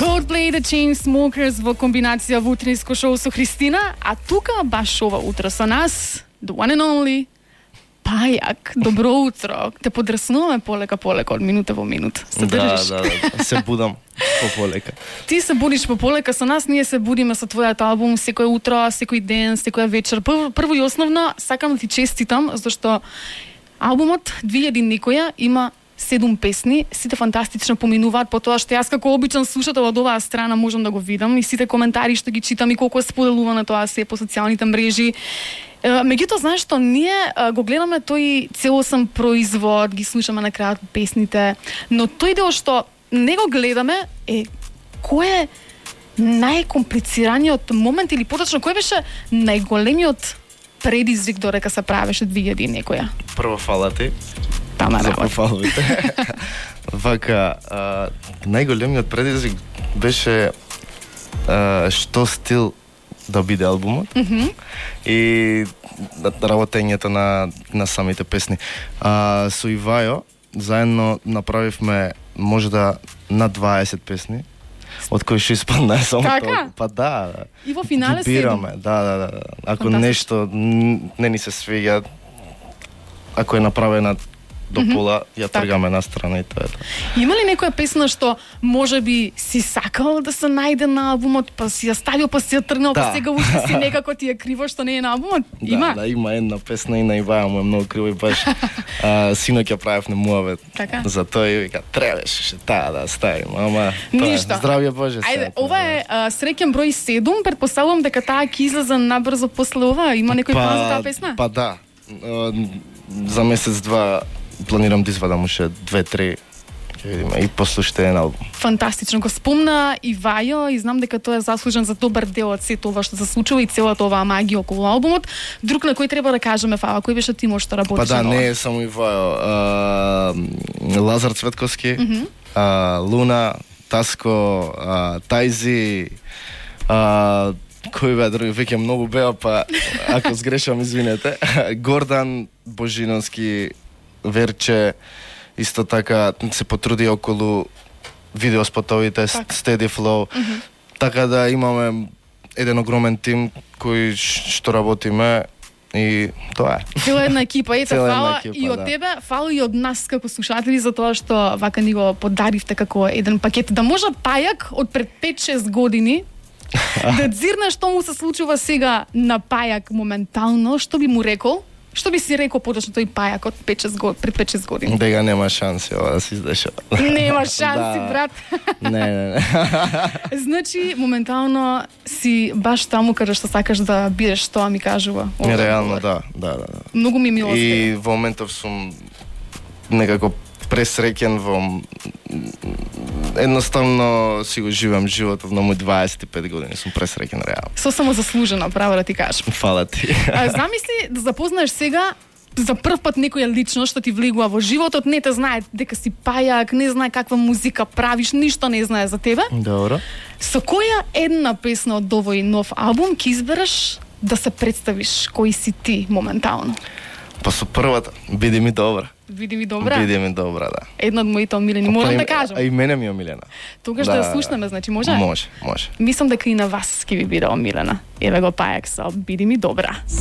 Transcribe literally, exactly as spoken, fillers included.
Coldplay, The Chainsmokers во комбинација во утринско шоу со Христина, а тука баш ова утро со нас, the one and only, Пајак. Добро утро. Те подраснуваме полека полека од минута во минут. Се држиш? Да, да, да. Се будам пополека. Ти се будиш пополека со нас, ние се будиме со твојот албум секој утро, секој ден, секоја вечер. Прво, прво и основно сакам да ти честитам зашто албумот две илјади некоја има седум песни, сите фантастично поминуваат по тоа што јас како обичен слушател од оваа страна можам да го видам и сите коментари што ги читам и колку е споделувано тоа се по социјалните мрежи. Меѓутоа, знаеш што, ние го гледаме тој целосен производ, ги слушаме на крајот песните, но тој дел што не го гледаме е кој е најкомплицираниот момент или поточно кој беше најголемиот предизвик додека се правеше две илјади некоја? Прво фала ти Тама за работа. пофаловите. Вака, а, најголемиот предизвик беше а, што стил да биде албумот Mm -hmm. и работењето на, на самите песни. А, со Ивајо заедно направивме можда на дваесет песни, од кои што испадна само Така? тоа. Па да, да. И во финале Ги седум. бираме, да, да, да. Ако Фантастично. нешто н- не ни се свиѓа, ако е направена до пола, ја Така. тргаме на страна и тоа е тоа. Има ли некоја песна што може би си сакал да се најде на албумот, па си ја ставил, па си ја тргнал, па Да. сега уште си некако ти е криво што не е на албумот? Да, Има? да, има една песна и на Иваја му е многу криво и баш а, синок ја правевме муавет. Така. За тоа и вика, требаше таа да ставим, ама тоа е, Ништо. здравје Боже. Ајде, сега, ова е а, среќен број седум, претпоставувам дека таа ќе излезе набрзо после ова. Има некој план за таа песна? Па да. А, за месец-два планирам да извадам уште две-три, ќе видиме, и послушате еден албум. Фантастично. Го спомна Ивајо и знам дека тој е заслужен за добар дел од сето ова што се случува и целата оваа магија околу албумот. Друг на кој треба да кажеме, Фала, кој беше тимот што работеше Па да, на ова? не е само Ивајо. А, Лазар Цветковски, Mm -hmm. а, Луна, Таско, а, Тајзи, а, кој беа други, веќе многу беа, па ако сгрешам, извинете. Гордан Божиновски, Верче, исто така се потруди околу видеоспотовите, Так. Steady Flow. Mm -hmm. Така да имаме еден огромен тим кој ш- што работиме и тоа е. Цела една екипа, ете, Цела една фала екипа, и од да. тебе, фала и од нас како слушатели за тоа што вака ни го подаривте како еден пакет. Да може Пајак од пред пет-шест години да дзирне што му се случува сега на Пајак моментално, што би му рекол? Што би си рекол поточно тој Пајак од пет-шест год, пред пет-шест години? Дега нема шанси ова да се издешава. Нема шанси, Да. брат. Не, не, не. Значи, моментално си баш таму каде што сакаш да бидеш, тоа ми кажува. овој Реално, одговор. да, да, да. да. Многу ми е мило. И во моментов сум некако пресреќен во м- едноставно си го живеам животот на мој дваесет и пет години, сум пресреќен реално. Со само заслужено, право да ти кажам. Фала ти. А, замисли да запознаеш сега за прв пат некоја личност што ти влегува во животот, не те знае дека си Пајак, не знае каква музика правиш, ништо не знае за тебе. Добро. Со која една песна од овој нов албум ќе избереш да се представиш кој си ти моментално? Па со првата, биди ми добра. Види ми добра. Биди ми добра, да. Една од моите омилени, можам Па и- да кажам. А и мене ми е омилена. Тогаш да ја слушнеме, значи може? Може, може. Мислам дека и на вас ќе ви биде омилена. Еве го Пајак со Биди ми добра.